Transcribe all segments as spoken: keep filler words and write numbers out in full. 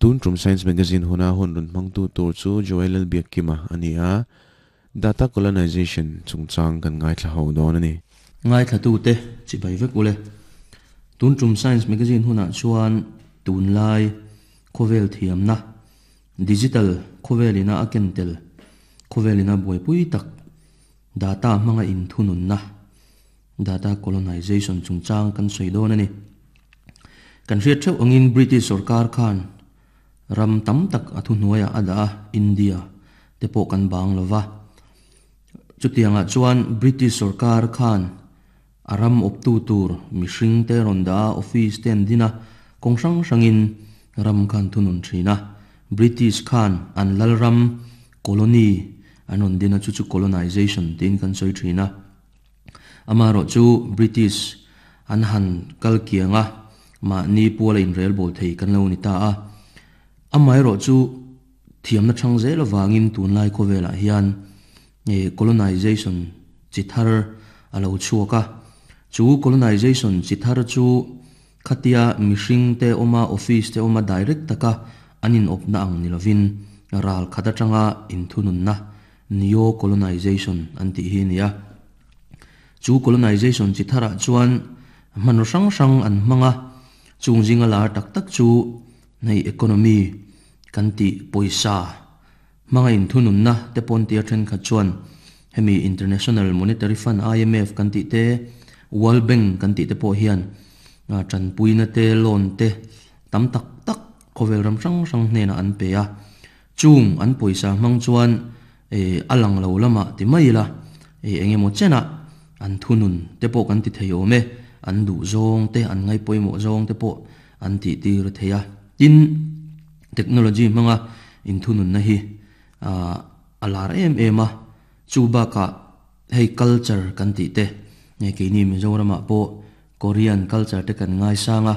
Tun tum Science Magazine huna hun run hmangtu tur chu Joel Lalbiakkima a ni a, Data Colonization chungchang kan ngaithla ho dawn a ni. Ngaithlatute chibai vek ule. Tun tum Science Magazine hunah chuan tunlai khawvel thiamna, digital khawvelina a ken tel, khawvelina buaipui tak, data hmanga inthununna, data colonization chungchang kan sawi dawn a ni. Kan hriat theuh angin British sorkar khan ram tam tak a thuhnuaiah a dah a, India te pawh kan bang lo va. Chutiangah chuan British sorkar khan a ram awptu tur mihring te rawn dah a, office te an din a, kawng hrang hrangin ram khan thunun thin a. British khan an lalram colony an rawn din a, chu chu colonization tiin kan sawi thin a. Amaherawh chu British an han kal kiang a, mahni puala inrel bawl thei kan lo ni ta a. Amaherawh chu thiamna thang zel avangin tunlai khawvelah hian colonization chi thar a lo chhuak a. Chu colonization chi thar chu khatia mihring te awma office te awma direct taka an inawpna ang ni lovin ral khat atanga inthununna neo colonization an tih hi a ni a. Chu colonization chi tharah chuan hmanraw hrang hrang an hmang a, chung zinga lar tak tak chu hei economy kan tih pawisa hmanga inthununna te pawn tia thenkhat chuan hemi International Monetary Fund I M F kan tih te World Bank kan tih te pawh hian tanpuina te loan te tam tak tak khawvel ram hrang hrang hnenah an pe a. Chung an pawisa hmang chuan a lang lo lamah ti mai ila engemaw chenah an thunun te pawh kan ti thei awm e, an duh zawng te an ngai pawimawh zawng te pawh an tih tir thei a. Tin technology hmanga inthununna hi a lar em em a, chu bakah hei culture kan tih te keini Mizoramah pawh Korean culture te kan ngai sang a,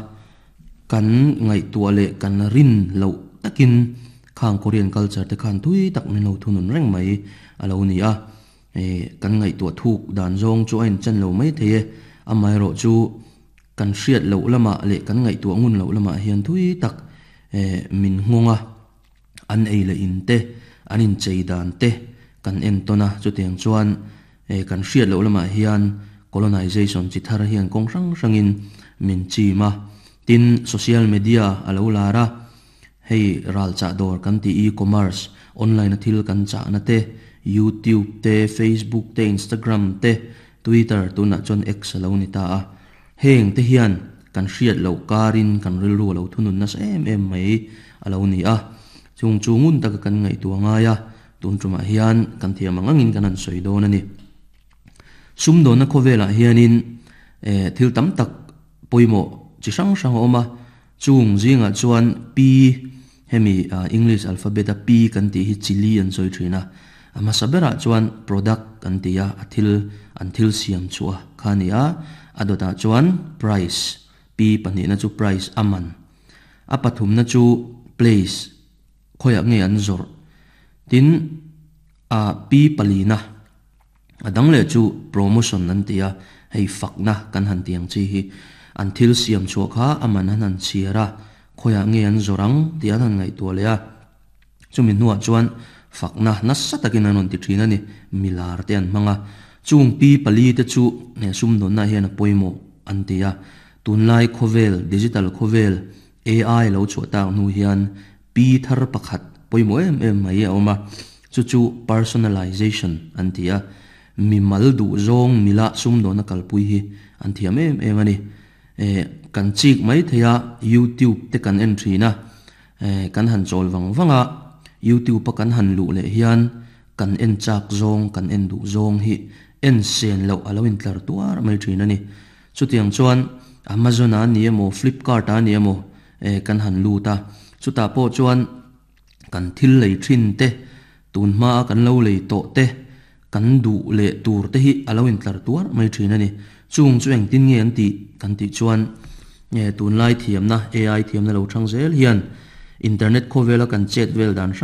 kan ngaihtuah leh kan rin loh takin khang Korean culture te khan tui tak min lo thunun reng mai a lo ni a. Kan ngaihtuah thuk dan zawng chu a inchan lo mai thei e, amaherawh chu kan hriat loh lamah leh kan ngaihtuah ngun loh lamah hian tui tak min nghawng a, an ei leh in te an inchei dan te kan en tawn a. Chutiang chuan kan hriat loh lamah hian colonization chi thar hian kawng hrang hrangin min chim a. Tin social media a lo lar a, hei ral chah dawr kan tih e-commerce online a thil kan chahna te YouTube te Facebook te Instagram te Twitter tunah chuan X a lo ni ta a. Heng te hian kan hriat loh karin kan rilru a lo thunun nasa em em mai a lo ni a. Chung chu ngun taka kan ngaihtuah ngai a, tun tumah hian kan thiam ang angin kan han sawi dawn a ni. Sumdawnna khawvelah hianin thil tam tak pawimawh chi hrang hrang a awm a, chung zingah chuan P hemi English alphabet a P kan tih hi chili an sawi thin a. A hmasa berah chuan product kan ti a, a thil an thil siam chhuah kha a ni a. A dawtah chuan price, P pahnihna chu price a man, a pathumna chu place khawiah nge an zawrh, tin a P palina a dang leh chu promotion an ti a, hei fakna kan han tiang chi hi an thil siam chhuah kha a man an han chhiar a, khawiah nge an zawrh ang tih an han ngaihtuah leh a. Chumi hnuah chuan fakna nasa takin an rawn ti thin a ni, milar te an hmang a. Chung P pali te chu sumdawnna hian a pawimawh an ti a. Tunlai khawvel digital khawvel A I lo chhuah tak hnu hian P thar pakhat pawimawh em em mai a awm a, chu chu personalization an ti a. Mi mal duh zawng mila sumdawnna kalpui hi an thiam em em a ni. Kan chik mai thei a, YouTube te kan en thin a, kan han chawl vang vang a, YouTube a kan han luh leh hian kan en chak zawng kan en duh zawng hi en sen loh a lo intlar tuar mai thin a ni. Chutiang chuan Amazon a ni emaw Flipkart a ni emaw kan han lut a, chutah pawh chuan kan thil lei thin te tun hma kan lo lei tawh te kan duh leh tur te hi a lo intlar tuar mai thin a ni. Chung chu engtin nge an tih kan tih chuan tunlai thiamna A I thiamna lo thang zel hian internet khawvela kan chet vel dan hrang